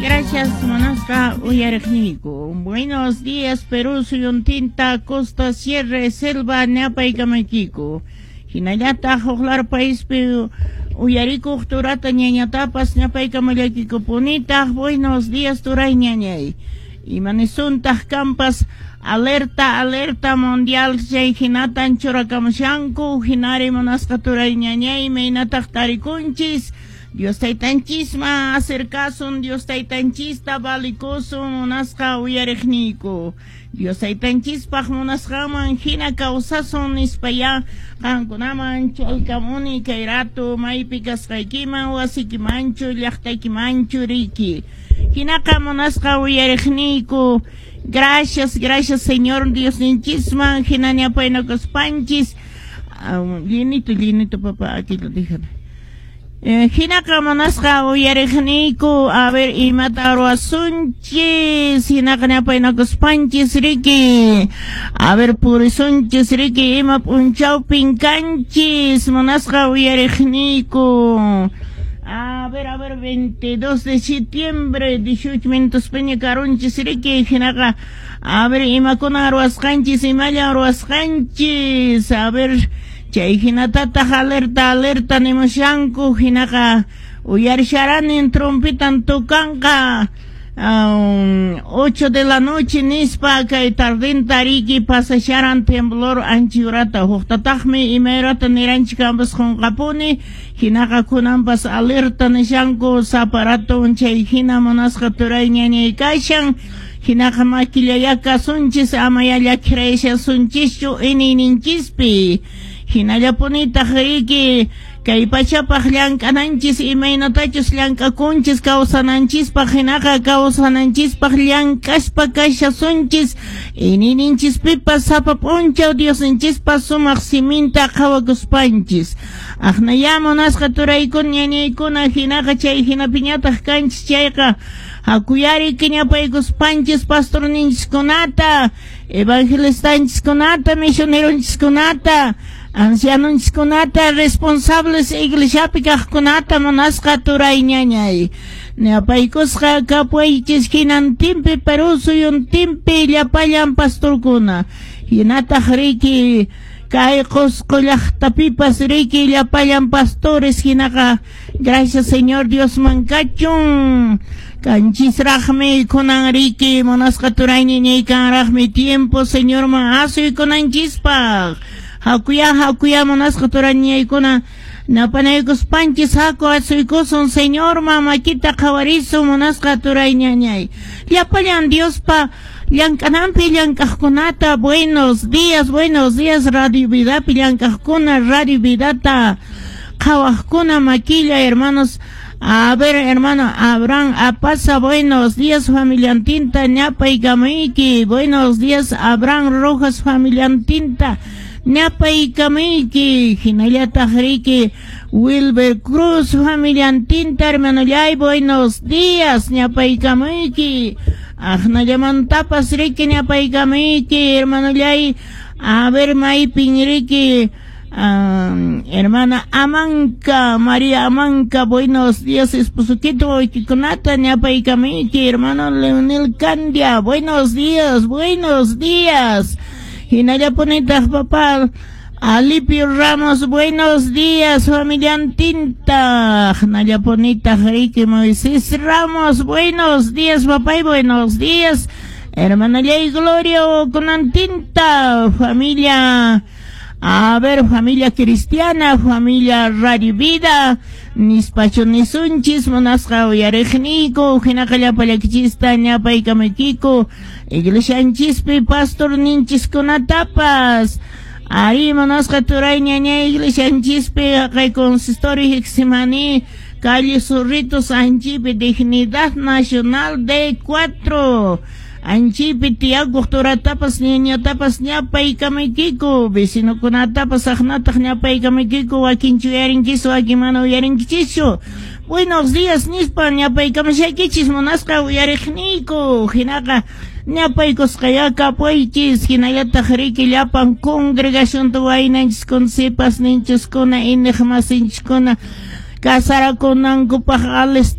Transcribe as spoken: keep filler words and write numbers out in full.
Gracias, munasqa uyariqniyku. Buenos días, Perú suyuntinta, costa, sierra, selva, ñapaykamaykiku. Hinallataq huqlar paispi uyarikuq turata ñañatapas ñapaykamallaykikunitaq. Buenos días, turay, ñañay. Imanisuntaq kampas? Alerta, alerta mundial chay hinatan churakamushanku. Hinari, munasqa turay, ñañay, imaynataq tarikunchis? Dios taytanchisman acercasun, Dios taytanchista valikusun, munasqa uyariqniyku. Dios taytanchispaq munasqanman hina kawsasun nispayá qankunaman chaykamuni kay rato maypi kasqaykiman, wasikimanchu, llaqtaykimanchu riki. Hinaqa, munasqa uyariqniyku, gracias, gracias Señor Diosninchisman hina ñapaynakuspanchis. Llenito, llenito, papá, aquí lo déjame. Eh, hinaqa munasqa uyariqniyku, a ver, imata ruwasunchis? Hinaqa ñapaynakuspanchis riki, a ver, purisunchis riki, ima p'unchawpin kanchis, munasqa uyariqniyku? A ver, a ver, veintidós de septiembre, dieciocho minutos peña karunchis riki. Hinaqa, a ver, imakuna ruwasqanchis, imalla ruwasqanchis? A ver, chay hinatataq alerta, alerta nimushanku. Hinaqa uyarisharani trompitan tocanqa um, ocho de la noche nispa kay tardenta riki pasasharan temblor anchiurata, huqtataqmi imayrata niranchik kampas qunqapuni. Hinaqa kunanpas alerta nishanku saparato chay hina, munasqa turay, ñañay, kashan. Hinaqa makillaya kasunchis, amaya llakirayashasunchischu iniyninchispi. Hinallapunitaq riki kay pachapaq llank'ananchis, imaynatachus llank'akunchis kawsananchispaq, hinaqa kawsananchispaq llank'aspa kashasunchis iniyninchispipas sapa p'unchaw Diosninchispa sumaq siminta qhawakuspanchis. Aqnaya, munasqa turaykuna, ñañaykuna, hinaqa chay hinapiñataq kanchis chayqa, hakuyari kiñapaykuspanchis pastorninchiskunata, evangelistanchiskunata, misioneronchiskunata, ancianonchiskunata, responsables iglesiapi kaqkunata, munasqa turay, ñañay. Ñapaykusqa kapuychis hinantinpi Perú suyuntinpi llapallan pastorkuna. Hinataq riki kay Qusqu llaqtapipas riki llapallan pastores. Hinaqa gracias Señor Diosman kachun. Kanchisraqmi kunan riki, munasqa turay, ñañay, kanraqmi tiempo Señorman asuykunanchispaq. Hakuya, hakuya, munasqa turay, ñañaykuna, napanaykuspanchis haku asuykusun Señorman, makita qhawarisun, munasqa turay, ñañay. Llapallan Diospa llank'ananpi llank'aqkunata, buenos días, buenos días, Radio Vidapi llank'aqkuna, Radio Vidata qhawaqkuna, makilla, hermanos. A ver, hermano Abraham Apaza, buenos días, familiantinta, ñapaykamayki. Buenos días, Abraham Rojas, familiantinta, ñapaykamayki. Hinallataq riki Wilber Cruz, familiantinta, hermanollay, buenos días, ñapaykamayki. Aqnallamantapas riki ñapaykamayki, hermanollay. A ver, maypin riki Um, hermana Amanca, María Amanca, buenos días, esposoquito, wawaykikunata, ñapaykamayki, hermano Leonel Candia, buenos días, buenos días. Hinallapunitaq papá Alipio Ramos, buenos días, familiantinta. Hinallapunitaq riki Moisés Ramos, buenos días, papá, y buenos días. Hermana Ley Gloria Conantinta, familia. A ver, familia cristiana, familia Radio Vida, nispachu nisunchis, munasqa uyariqniyku. Hinaqa llapallaykichista ñapaykamaykiku, iglesianchispi pastor ninchiskunatapas. Ari, munasqa turay, ñañay, iglesianchispi haqay consistorio Getsemaní, calle Zorritos, Anchipi, Dignidad Nacional de cuatro. Anchipi tiyakuq turatapas ñañatapas ñapaykamaykiku, vecinokunatapas aqnataq ñapaykamaykiku, wakinchu uyarinkichu, wakin mana uyarinkichischu. Buenos días nispa ñapaykamashaykichis, munasqa uyariqniyku. Hinaqa ñapaykusqaya kapuychis. Hinallataq riki llapan congregación waynanchiskuna, sipasninchiskuna, iñiqmasinchiskuna casarakunankupaq alista.